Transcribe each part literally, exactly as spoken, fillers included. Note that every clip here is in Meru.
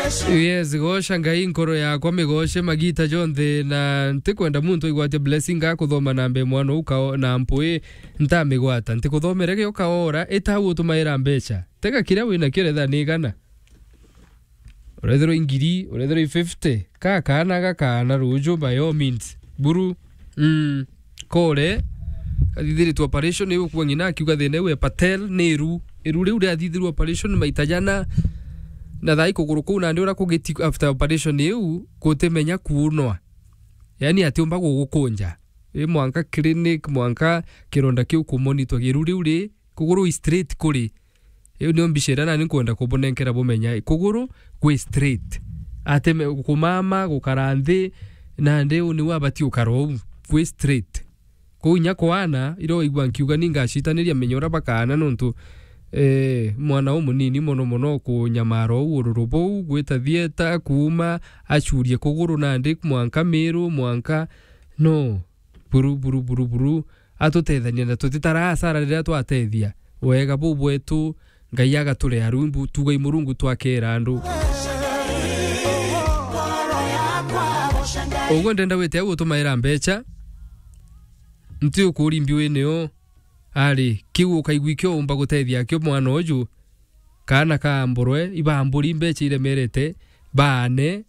Yes, goca Ngai nkoro yakwa, migoce magita jonthe, na ntikwenda muntu aigwatie blessing akuthoma na mbe mwana ukao na mpui ntamigwata. Ntikuthomere gioka ora, ita utumaira mbeca. Tega kiria wina kio, retha ni igana. Urethirwa i ngiri, urethirwa i fifty, ka kaana gakaana ruju, by all means. Buru, mm, kore, athithiritwe operation, iu kwa ng'ina akiuga thina iu e Patel, ni iru. Iru riu riathithirwe operation maita jana, na thaa ikuguru kuu nandi uria kugiti after operation iu, gutimenya kuunwa. Yani atiumba gugukunja. I mwanka clinic, mwanka kironda kiu kumonitwa. Iru riu ri, kuguru i straight kuri. Iu nio mbica iria nani nkwenda kubunenkera bumenya. Kuguru gwi straight. Ateme kumama, gukara nthi, nandi u niu abati ukara uu. Gwi straight. Kuu inya kwaana, iria waigua nkiuga ni ngacitaniria menya uria bakaana nontu, eh, mwana umunini mono mono kunyamara uu ururu buu, gwita thieta, kuuma, acurie kuguru nandi mwanka miru, mwanka, no. Buru, buru, buru, buru. Atutethania na tutitara hasara riria twatethia. Wega buu bwetu, Ngai agaturea rumbu, tugai Murungu twakera andu. Uguo ndenda wite au utumaira mbeca, nti ukuri mbiu inio, ari, kiu ukaigua ikio umba gutethia akio mwana uju, kaana ka mburwe, ibamburi mbeca iremerete, baane,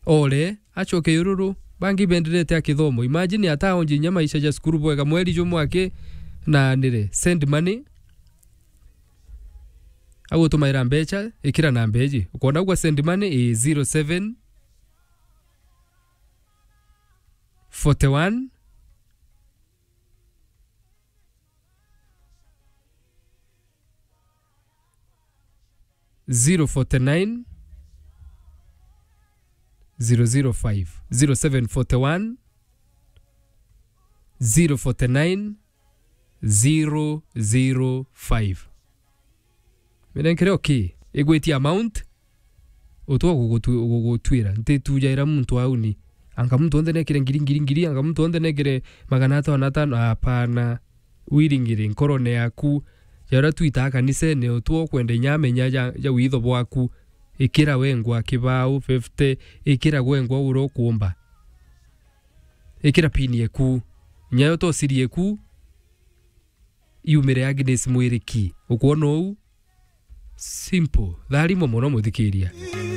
ore, acoke ururu, bangi benderete akithomo. Imagine ataonje inya maisha ja cukuru bwega, mweri jumwe aki, na nire, send money, agutumaira mbeca, ikira namba iji. Ukwona ugwa send money, i zero seven forty one, zero forty nine, zero zero five, zero seven forty one, zero forty nine, zero zero five. Minenkere okay, igwitia amount, utwa gugutu-, gugutwira. Ntitujaira muntu au ni. Anga muntu onthe nekire ngiri, ngiri, ngiri, anga muntu onthe nekire magana atano, atano, hapana. Wiringire nkorone yaku, ja uria twitaa kanisene, utwa ukwenda inya amenya ja, ja witho bwaku. Ikira wengwa kibau fifty, ikira wengwa uria ukuumba. Ikira pin yeku. Nyayo tosirie ku, yumire Agnes Mwiriki. Ukwona uu? Simple. Tharimo mono muthikiria.